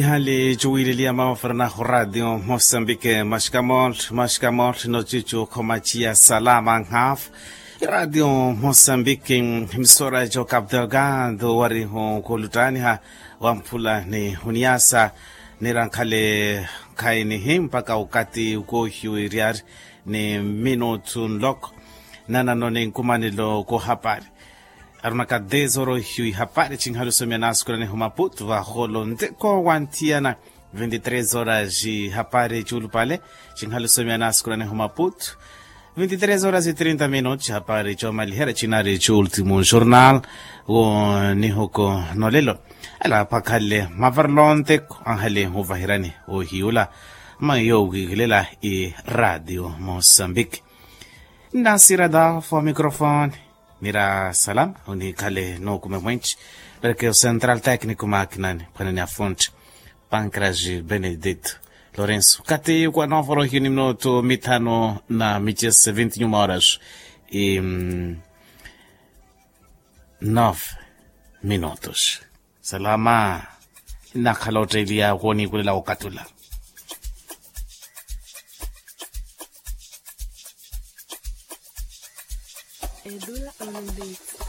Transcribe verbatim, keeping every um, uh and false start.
Ihali cuwiileliya mama fernando radio mosambike mashikamol mashikamol nochichu khomachiya salama nhafu. Radio mosambike misora jo cap delgado warihu kuluttaniha wamphula ni huniyasa. Nirankhale khainihi mpaka ukati ukohiwe riyari ni minutu nloko. Nanano ni nkumanelo kohapari arunaka dez horas ohiyu ihapari chinhali osomya naasukulanihu maputu vaholo nteko wanthiyana. Vinti tres horas ihapari cuulupale chinhali osomya naasukulanihu maputu. Vinti tres horas e trinta minutos ihapari coomaliherya chinari cuultimo jornal. Wo nihuko nolelo ela apakhalle mavarelo nteko anhali huvaherani ohiyula. Mayo wikilela i radio mosambike. Nnasira dafu wa microfone. Mira salam onikhale nookume mwenci. Perke o central técnico makinani phwanani afonte pancras benedito lorenso kati kwa novorohio ni minutu mithano na michese vinti nyuma horas i nove minutos. Salama. Nakhala otteeliya wooniikulela okatula. Edula olumbeitsi.